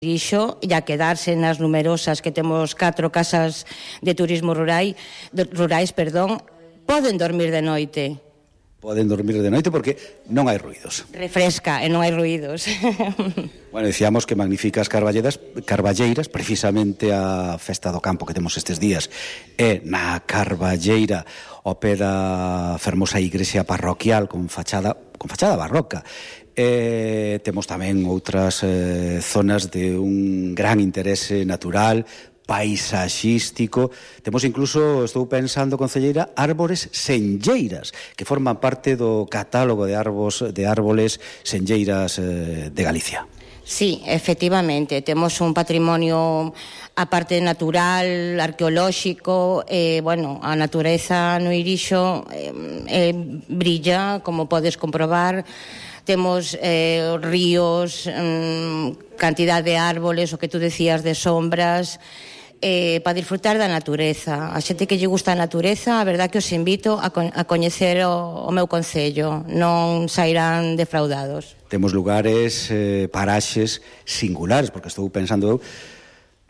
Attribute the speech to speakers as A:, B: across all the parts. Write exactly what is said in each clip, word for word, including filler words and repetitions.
A: Irixo e a quedarse nas numerosas que temos catro casas de turismo rural, de, rurais, perdón, poden dormir de noite.
B: Poden dormir de noite porque non hai ruídos.
A: Refresca e non hai ruídos.
B: Bueno, dicíamos que magníficas carballeiras, carballeiras, precisamente a festa do campo que temos estes días, é na Carballeira, ao pé da fermosa igrexa parroquial con fachada, con fachada barroca. E temos tamén outras eh, zonas de un gran interese natural, paisaxístico. Temos incluso, estou pensando, concelleira, árbores senlleiras, que forman parte do catálogo de árbos, de árboles senlleiras eh, de Galicia.
A: Sí, efectivamente, temos un patrimonio a parte natural, arqueolóxico, e, bueno, a natureza no Irixo eh, eh, brilla, como podes comprobar. Temos eh, ríos, mm, cantidad de árboles, o que tú decías de sombras, eh, para disfrutar da natureza. A xente que lle gusta a natureza, a verdad que os invito a, co a coñecer o, o meu concello, non sairán defraudados.
B: Temos lugares, eh, paraxes singulares, porque estou pensando eu,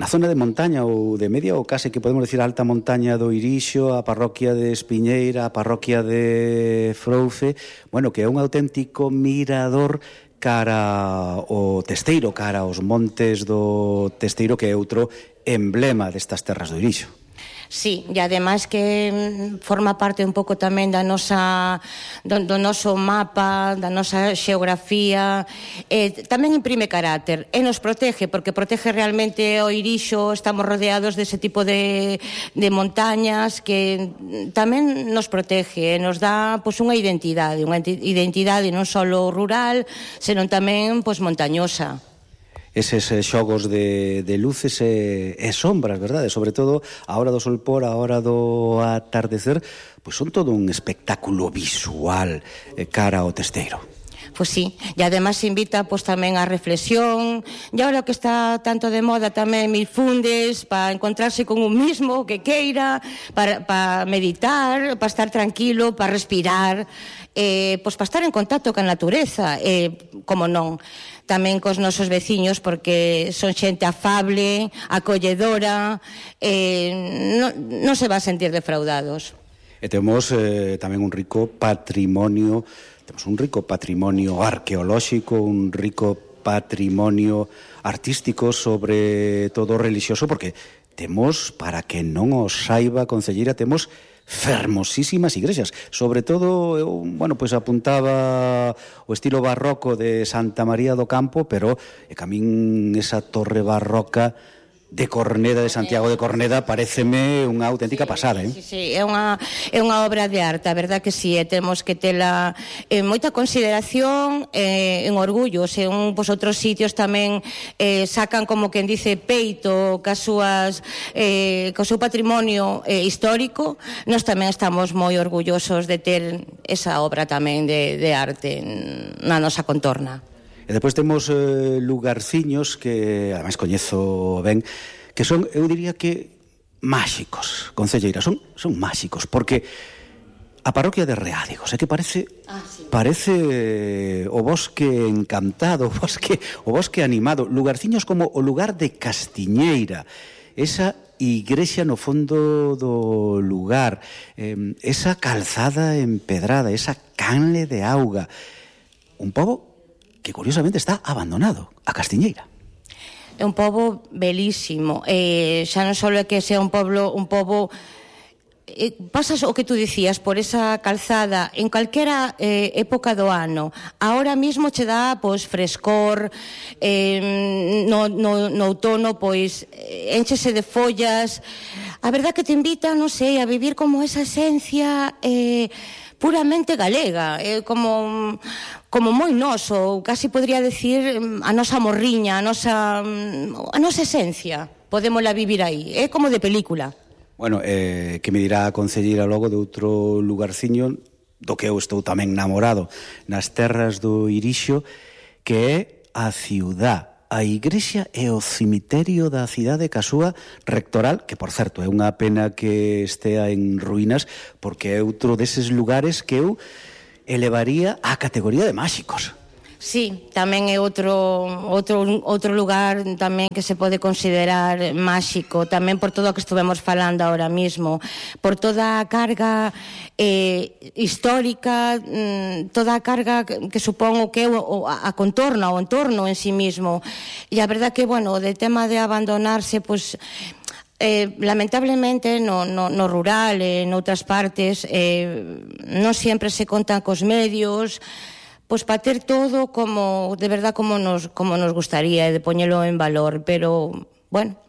B: na zona de montaña ou de media ou case que podemos decir alta montaña do Irixo, a parroquia de Espiñeira, a parroquia de Froufe, bueno, que é un auténtico mirador cara o Testeiro, cara aos montes do Testeiro, que é outro emblema destas terras do Irixo.
A: Sí, e ademais que forma parte un pouco tamén da nosa, do, do noso mapa, da nosa xeografía, eh, tamén imprime carácter e nos protege, porque protege realmente o Irixo. Estamos rodeados dese tipo de, de montañas que tamén nos protege e nos dá pois, unha identidade, unha identidade non só rural, senón tamén pois, montañosa.
B: Eses xogos de, de luces e, e sombras, verdade? Sobre todo a hora do solpor, a hora do atardecer, pois son todo un espectáculo visual eh, cara ao Testeiro.
A: Pois sí, e además invita pois, tamén a reflexión, e agora que está tanto de moda tamén mil fundes para encontrarse con un mismo que queira, para, para meditar, para estar tranquilo, para respirar, eh, pois para estar en contacto con a natureza, eh, como non, tamén cos nosos veciños, porque son xente afable, acolledora, eh, non, non se va a sentir defraudados.
B: E temos eh, tamén un rico patrimonio, temos un rico patrimonio arqueolóxico, un rico patrimonio artístico, sobre todo religioso, porque temos, para que non os saiba, concelleira, temos fermosísimas igrexas, sobre todo, eu, bueno, pois apuntaba o estilo barroco de Santa María do Campo, pero e camín esa torre barroca de Corneda, de Santiago de Corneda, pareceme unha auténtica pasada, eh?
A: Sí, sí, é unha, é unha obra de arte, a verdad que sí, e temos que tela en moita consideración, eh, en orgullo, se un, pois, outros sitios tamén eh, sacan, como quen dice, peito cas súas, eh, co seu patrimonio eh, histórico, nós tamén estamos moi orgullosos de ter esa obra tamén de, de arte na nosa contorna.
B: E depois temos eh, lugarciños que, ademais, coñezo ben, que son, eu diría que, máxicos, concelleira, son, son máxicos, porque a parroquia de Reádigos, é que parece ah, sí. parece eh, o bosque encantado, o bosque, o bosque animado, lugarciños como o lugar de Castiñeira, esa igrexa no fondo do lugar, eh, esa calzada empedrada, esa canle de auga, un pobo que curiosamente está abandonado, a Castiñeira.
A: É un pobo belísimo, eh, xa non só é que sea un pobo, un pobo eh, pasas o que tú dicías por esa calzada en calquera eh, época do ano. Ahora mismo che dá pois frescor, eh, no, no, no outono pois enchese de follas. A verdad que te invita, non sei, a vivir como esa esencia eh, puramente galega, é como como moi noso, casi podría decir a nosa morriña, a nosa a nosa esencia. Podémola vivir aí, é como de película.
B: Bueno, eh, que me dirá a concelleira logo de outro lugarciño do que eu estou tamén namorado nas terras do Irixo, que é a ciudad, a igrexa e o cemiterio da cidade ca súa rectoral, que, por certo, é unha pena que estea en ruínas, porque é outro deses lugares que eu elevaría á categoría de máxicos.
A: Sí, tamén é outro, outro, outro lugar tamén que se pode considerar máxico, tamén por todo o que estuvemos falando ahora mismo, por toda a carga eh, histórica, mm, toda a carga que supón o que é o, a contorna, o entorno en sí mismo. E a verdad que, bueno, de tema de abandonarse, pues, eh, lamentablemente no, no, no rural, en outras partes, eh, non sempre se contan cos medios, pois para ter todo como, de verdad, como nos, como nos gustaría, de poñelo en valor, pero, bueno,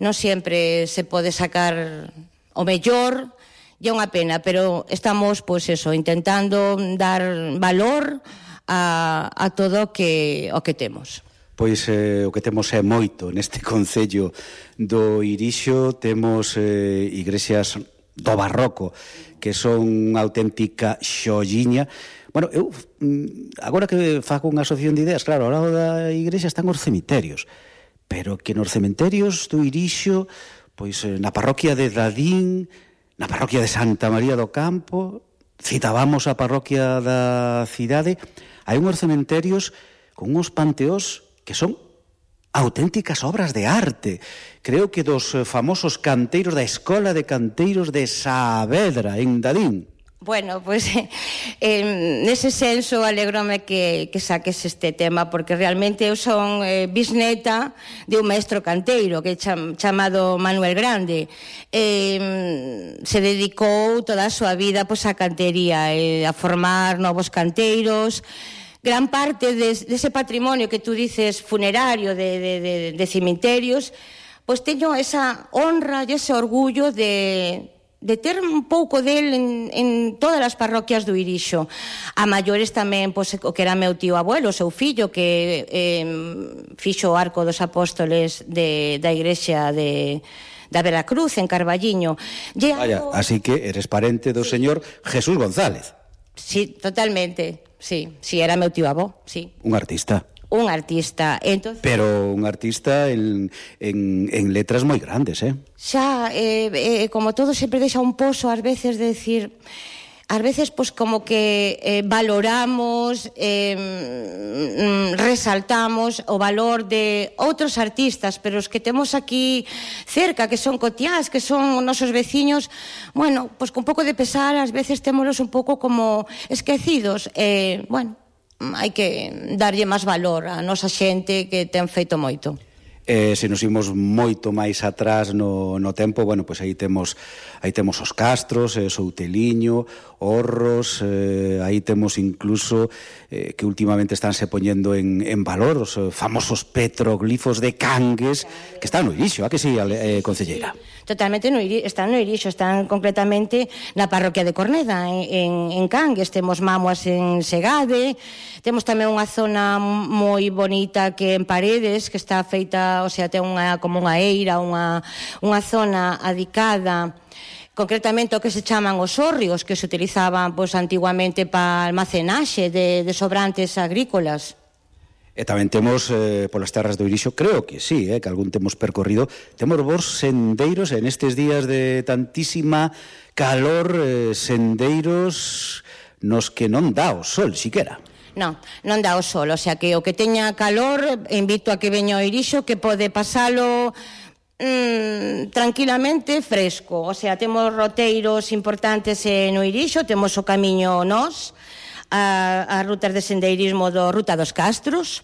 A: non sempre se pode sacar o mellor, e é unha pena, pero estamos, pois eso, intentando dar valor a, a todo o que, o que temos.
B: Pois eh, o que temos é moito neste concello do Irixo, temos eh, igrexas do barroco, que son unha auténtica xolliña. Bueno, eu, agora que fago unha asociación de ideas, claro, ao lado da igrexa están os cemiterios, pero que nos cementerios do Irixo, pois na parroquia de Dadín, na parroquia de Santa María do Campo, citábamos a parroquia da cidade, hai unhos cementerios con uns panteós que son auténticas obras de arte. Creo que dos famosos canteiros da Escola de Canteiros de Saavedra, en Dadín.
A: Bueno, pois pues, eh, nese senso alégrome que, que saques este tema, porque realmente eu son eh, bisneta de un maestro canteiro que é cham, chamado Manuel Grande. Eh, se dedicou toda a súa vida pois, a cantería, eh, a formar novos canteiros. Gran parte de, de ese patrimonio que tú dices funerario de, de, de, de cemiterios, pois teño esa honra e ese orgullo de... de ter un pouco del en, en todas as parroquias do Irixo. A maiores tamén, pois, o que era meu tío abuelo, o seu fillo, que eh, fixo o Arco dos Apóstoles de, da igrexa de, da Veracruz, en Carballiño.
B: Vaya, algo... así que eres parente do sí. señor Jesús González.
A: Sí, totalmente, sí, sí, era meu tío avó, sí.
B: Un artista.
A: Un artista. Entonces,
B: pero un artista en, en, en letras moi grandes, eh?
A: Xa, eh, eh, como todo sempre deixa un pozo ás veces de decir, ás veces pois como que eh, valoramos, eh, resaltamos o valor de outros artistas, pero os que temos aquí cerca, que son cotiás, que son nosos veciños, bueno, pois con un pouco de pesar, ás veces témolos un pouco como esquecidos, eh, bueno, hai que darlle máis valor a nosa xente que ten feito moito.
B: Eh, se nos imos moito máis atrás no, no tempo, bueno, pois aí temos aí temos os castros, eh, Souteliño, Orros, eh, aí temos incluso eh, que últimamente estánse poñendo en, en valor os eh, famosos petroglifos de Cangues, que están no Irixo, a que si, eh, concelleira?
A: Totalmente no Irixo, están no Irixo, están concretamente na parroquia de Corneda, en, en, en Cangues, temos Mamuas en Segade, temos tamén unha zona moi bonita que en Paredes, que está feita, o sea, ten unha, como unha eira, unha, unha zona adicada concretamente o que se chaman os hórreos, que se utilizaban pois, antiguamente para almacenaxe de, de sobrantes agrícolas.
B: E tamén temos eh, polas terras do Irixo, creo que sí, eh, que algún temos percorrido, temos vos sendeiros en estes días de tantísima calor, eh, sendeiros nos que non dá o sol, siquera.
A: Non, non dá o sol, o sea que o que teña calor, invito a que veña ao Irixo, que pode pasalo mm, tranquilamente fresco, o sea, temos roteiros importantes no Irixo, temos o camiño Nós, a, a rutas de sendeirismo do Ruta dos Castros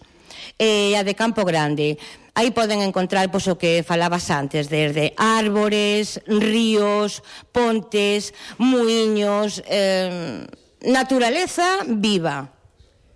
A: e a de Campo Grande. Aí poden encontrar pois, o que falabas antes, desde árbores, ríos, pontes, muiños, eh, naturaleza viva.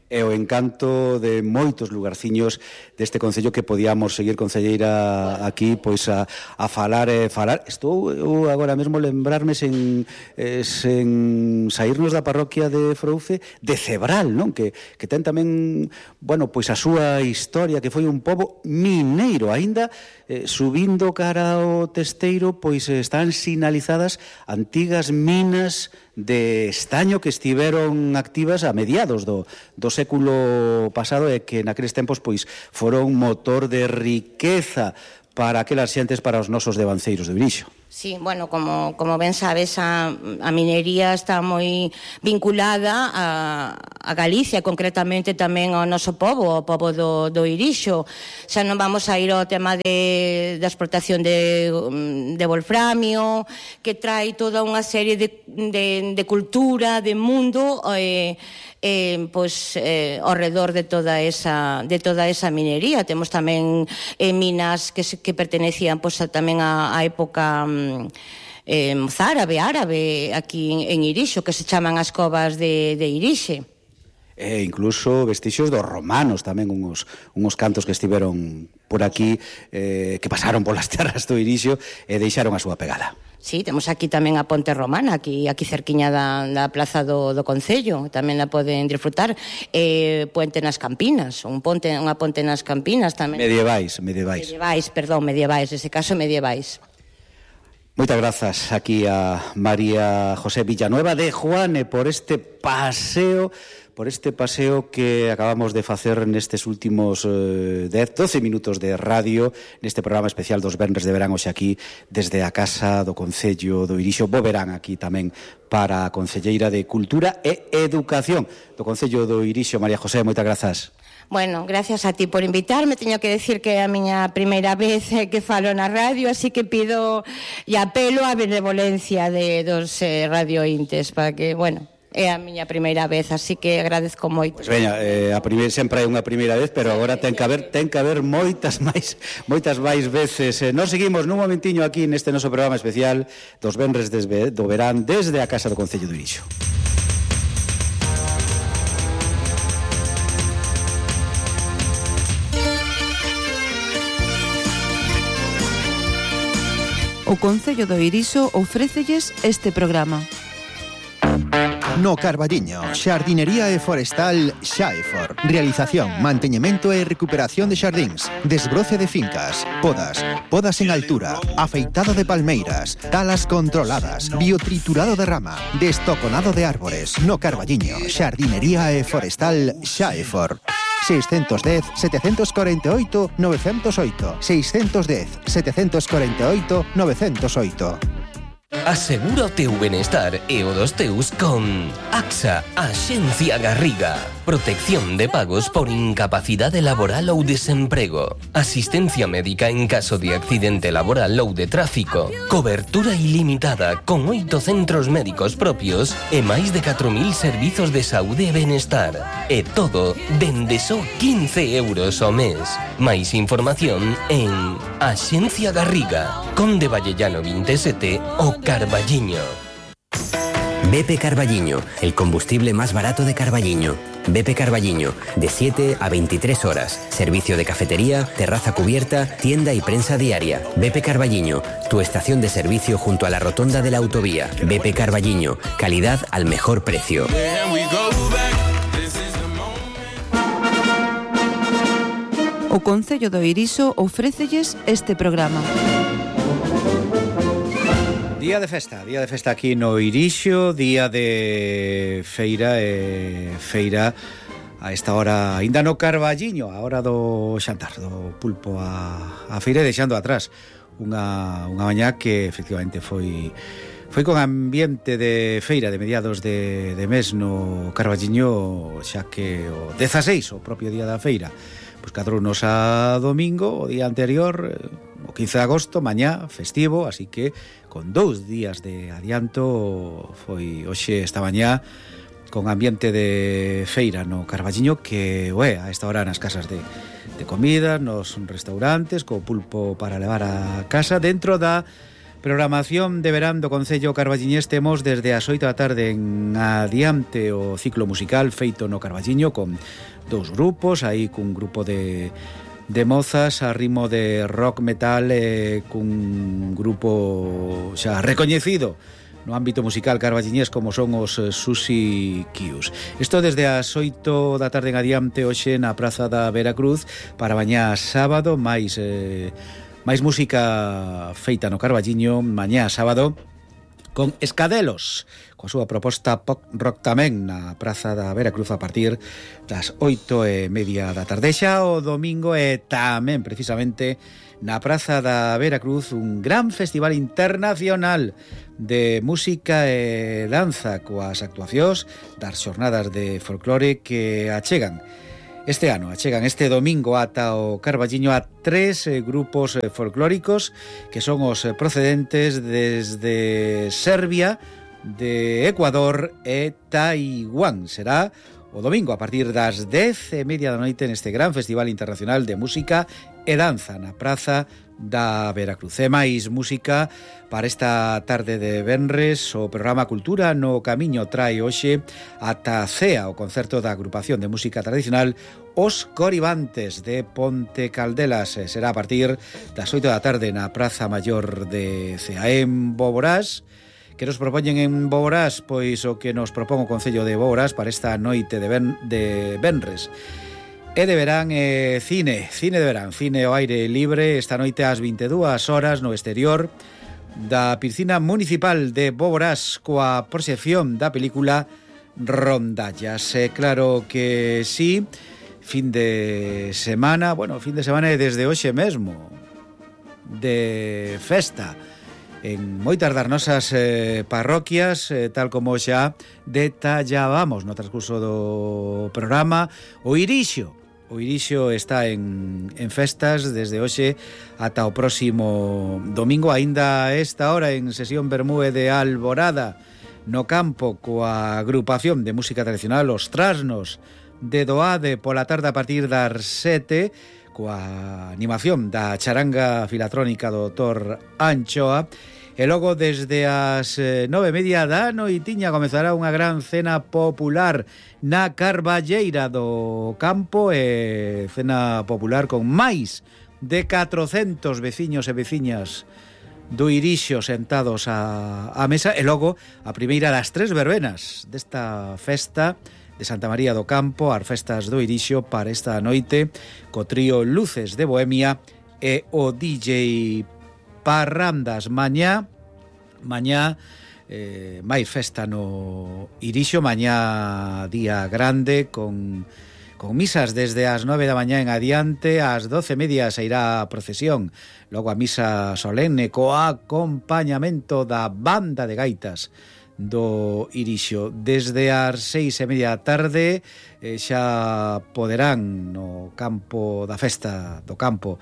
B: É o encanto de moitos lugarciños deste concello que podíamos seguir, concelleira, aquí pois a, a falar e falar. Estou eu agora mesmo lembrarme sen, eh, sen saírnos da parroquia de Frouce de Cebral, non? Que, que ten tamén, bueno, pois a súa historia, que foi un pobo mineiro, aínda eh, subindo cara ao Testeiro, pois están sinalizadas antigas minas de estaño que estiveron activas a mediados do, do século pasado e que naqueles tempos pois foron motor de riqueza para aquelas xentes, para os nosos devanceiros de Irixo.
A: Sí, bueno, como, como ben sabes, a, a minería está moi vinculada a, a Galicia, concretamente tamén ao noso pobo, ao pobo do, do Irixo. Xa non vamos a ir ao tema de, da exportación de, de wolframio, que trae toda unha serie de, de, de cultura, de mundo, eh, eh, pois, eh, ao redor de toda esa, de toda esa minería. Temos tamén eh, minas que, que pertenecían pois, a, tamén á época Eh, mozárabe, árabe, aquí en, en Irixo, que se chaman as covas de, de Irixe.
B: E incluso vestixios dos romanos, tamén unhos, unhos cantos que estiveron por aquí, eh, que pasaron polas terras do Irixo e deixaron a súa pegada.
A: Sí, temos aquí tamén a Ponte Romana, aquí aquí cerquiña da, da plaza do, do Concello, tamén a poden disfrutar. Eh, Puente nas Campinas, un ponte, unha ponte nas Campinas tamén.
B: Medievais, medievais.
A: Medievais, perdón, medievais, nese caso medievais.
B: Moitas grazas aquí a María José Villanueva de Juane por este paseo, por este paseo que acabamos de facer nestes últimos eh, dez, doce minutos de radio, neste programa especial dos venres de verán hoxe aquí desde a Casa do Concello do Irixo. Bo verán aquí tamén para a Concelleira de Cultura e Educación do Concello do Irixo, María José, moitas grazas.
A: Bueno, gracias a ti por invitarme. Teño que decir que é a miña primeira vez que falo na radio, así que pido e apelo á benevolencia de dos eh, radiointes para que, bueno, é a miña primeira vez, así que agradezco moito.
B: Pois veña, eh, a primeira sempre é unha primeira vez, pero agora ten que haber ten que haber moitas máis moitas máis veces. Eh, nos seguimos nun momentiño aquí neste noso programa especial dos venres desde do verán desde a Casa do Concello do Irixo.
C: O Concello do Irixo ofrécelles este programa.
D: No Carballiño, xardinería e forestal Xaefor. Realización, manteñemento e recuperación de xardíns, desbroce de fincas, podas, podas en altura, afeitado de palmeiras, talas controladas, biotriturado de rama, destoconado de árbores. No Carballiño, xardinería e forestal Xaefor. seiscentos dez, setecentos cuarenta e oito, novecentos oito. seiscentos dez, setecentos cuarenta e oito, novecentos oito.
E: Asegura o teu benestar e o dos teus con AXA, Axencia Garriga. Protección de pagos por incapacidade laboral ou desemprego. Asistencia médica en caso de accidente laboral ou de tráfico. Cobertura ilimitada con oito centros médicos propios e máis de catro mil servizos de saúde e benestar. E todo dende só quince euros ao mes. Máis información en Axencia Garriga, Conde Vallellano veintisiete o Carballiño.
F: B P Carballiño, el combustible más barato de Carballiño. B P Carballiño, de siete a veintitrés horas. Servicio de cafetería, terraza cubierta, tienda y prensa diaria. B P Carballiño, tu estación de servicio junto a la rotonda de la autovía. B P Carballiño, calidad al mejor precio.
C: O Concello do Irixo ofrécelles este programa.
B: Día de festa, día de festa aquí no Irixo, día de feira e feira a esta hora ainda no Carballiño, a hora do xantar, do pulpo a, a feira, deixando atrás unha, unha mañá que efectivamente foi foi con ambiente de feira de mediados de, de mes no Carballiño, xa que o dezaseis, o propio día da feira, pois cadrounos a domingo, o día anterior, o quince de agosto, mañá, festivo, así que con dous días de adianto foi hoxe esta mañá con ambiente de feira no Carballiño que, ué, a esta hora nas casas de, de comida, nos restaurantes, co pulpo para levar a casa. Dentro da programación de verán do Concello Carballiñés temos desde as oito da tarde en adiante o ciclo musical feito no Carballiño con dous grupos, aí cun grupo de de mozas a ritmo de rock metal eh, cun grupo xa recoñecido no ámbito musical carballiñés como son os eh, Susi Qius. Isto desde as oito da tarde en adiante hoxe na Praza da Veracruz para mañá sábado, máis eh, máis música feita no Carballiño, mañá sábado con Escadelos, coa súa proposta pop rock tamén na Praza da Veracruz a partir das oito e media da tarde. Xa o domingo e tamén precisamente na Praza da Veracruz un gran festival internacional de música e danza coas actuacións das xornadas de folclore que achegan este ano, achegan este domingo ata o Carballiño a tres eh, grupos eh, folclóricos que son os eh, procedentes desde Serbia, de Ecuador e Taiwán. Será o domingo a partir das dez e media da noite neste gran festival internacional de música e danza na Praza da Veracruz. E máis música para esta tarde de venres. O programa Cultura no Camiño trae hoxe ata Cea, o concerto da agrupación de música tradicional Os Coribantes de Ponte Caldelas. Será a partir das oito da tarde na Praza Maior de Cea. En Boborás, que nos propoñen en Boborás? Pois o que nos propón o Concello de Boborás para esta noite de, ben, de venres. E de verán eh, cine, cine de verán, cine ao aire libre esta noite ás vinte e dúas horas no exterior da piscina municipal de Boborás coa proxección da película Rondallas. E claro que sí, fin de semana, bueno, fin de semana e desde hoxe mesmo de festa en moitas das nosas eh, parroquias, eh, tal como xa detallábamos no transcurso do programa. O Irixo O Irixo está en, en festas desde hoxe ata o próximo domingo, aínda a esta hora en sesión Bermúe de Alborada no campo coa agrupación de música tradicional Os Trasnos de Doade pola tarde a partir das sete coa animación da charanga filatrónica do doutor Anchoa. E logo desde as nove e media da noitiña comezará unha gran cena popular na Carballeira do Campo, e cena popular con máis de catrocentos veciños e veciñas do Irixo sentados a, a mesa. E logo a primeira das tres verbenas desta festa de Santa María do Campo, as festas do Irixo para esta noite, co trío Luces de Bohemia e o D J Parrandas. Mañá, mañá eh, máis festa no Irixo, mañá día grande con, con misas desde as nove da mañá en adiante. Ás doce e media se irá a procesión, logo a misa solene co acompañamento da banda de gaitas do Irixo. Desde as seis e media da tarde eh, xa poderán no campo da festa do campo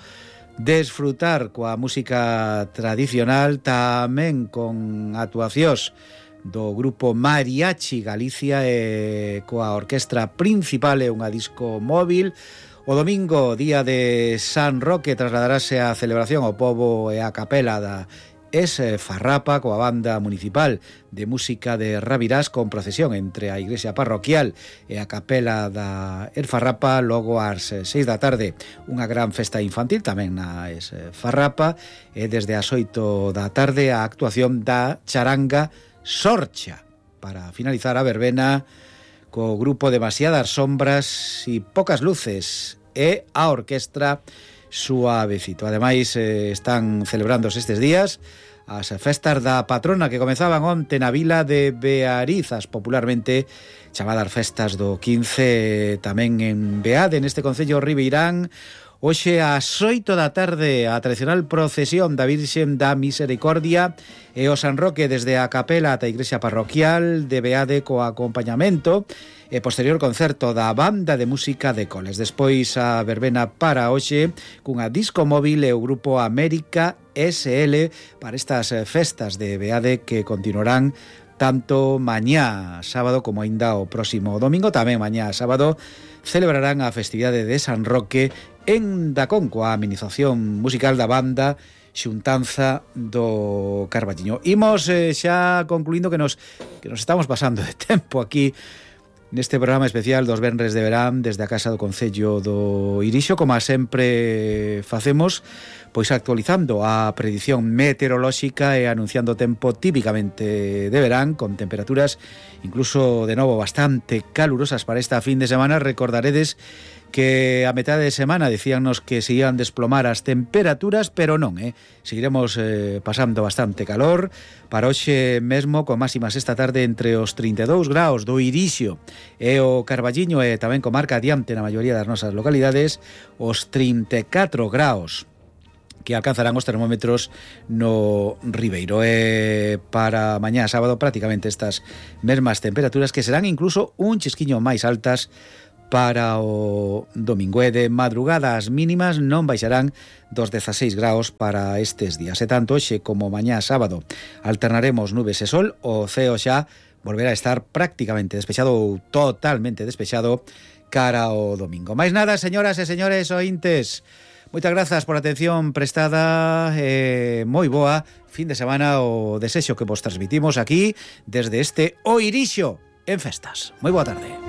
B: desfrutar coa música tradicional, tamén con actuacións do grupo Mariachi Galicia e coa orquestra principal e unha disco móvil. O domingo, día de San Roque, trasladarase a celebración ao pobo e a capela da Es Farrapa coa banda municipal de música de Rabirás, con procesión entre a igrexa parroquial e a capela da Es Farrapa. Logo ás seis da tarde unha gran festa infantil tamén na Es Farrapa, e desde as oito da tarde a actuación da charanga Sorcha para finalizar a verbena co grupo Demasiadas Sombras e Pocas Luces e a orquestra Suavecito. Ademais, eh, están celebrándose estes días as festas da patrona que comezaban onte na vila de Bearizas, popularmente chamadas festas do quince, tamén en Beade, neste concello ribeirán. Hoxe ás oito da tarde a tradicional procesión da Virxen da Misericordia e o San Roque desde a capela ata a igrexa parroquial de Beade co acompañamento e posterior concerto da banda de música de Coles. Despois a verbena para hoxe cunha disco móvil e o grupo América S L para estas festas de Beade que continuarán tanto mañá sábado como aínda o próximo domingo. Tamén mañá sábado celebrarán a festividade de San Roque en Dacón coa amenización musical da banda Xuntanza do Carballiño. Imos eh, xa concluindo que nos, que nos estamos pasando de tempo aquí neste programa especial dos venres de verán desde a Casa do Concello do Irixo, como sempre facemos, pois actualizando a predición meteorolóxica e anunciando tempo típicamente de verán, con temperaturas incluso de novo bastante calurosas para esta fin de semana. Recordaredes que a metade de semana dicíannos que se ian desplomar as temperaturas, pero non, eh? Seguiremos eh, pasando bastante calor. Para hoxe mesmo, con máximas esta tarde entre os trinta e dous graus do Irixo e o Carballiño, e tamén comarca adiante na maioría das nosas localidades, os trinta e catro graus que alcanzarán os termómetros no Ribeiro. E para mañá sábado prácticamente estas mesmas temperaturas, que serán incluso un chisquiño máis altas para o domingo. E de madrugada as mínimas non baixarán dos dezaseis graus para estes días. E tanto hoxe como mañá sábado alternaremos nubes e sol. O ceo xa volverá a estar prácticamente despexado ou totalmente despexado cara ao domingo. Mais nada, señoras e señores ointes, moitas grazas por a atención prestada. Eh, moi boa fin de semana o desexo que vos transmitimos aquí desde este O Irixo en festas. Moi boa tarde.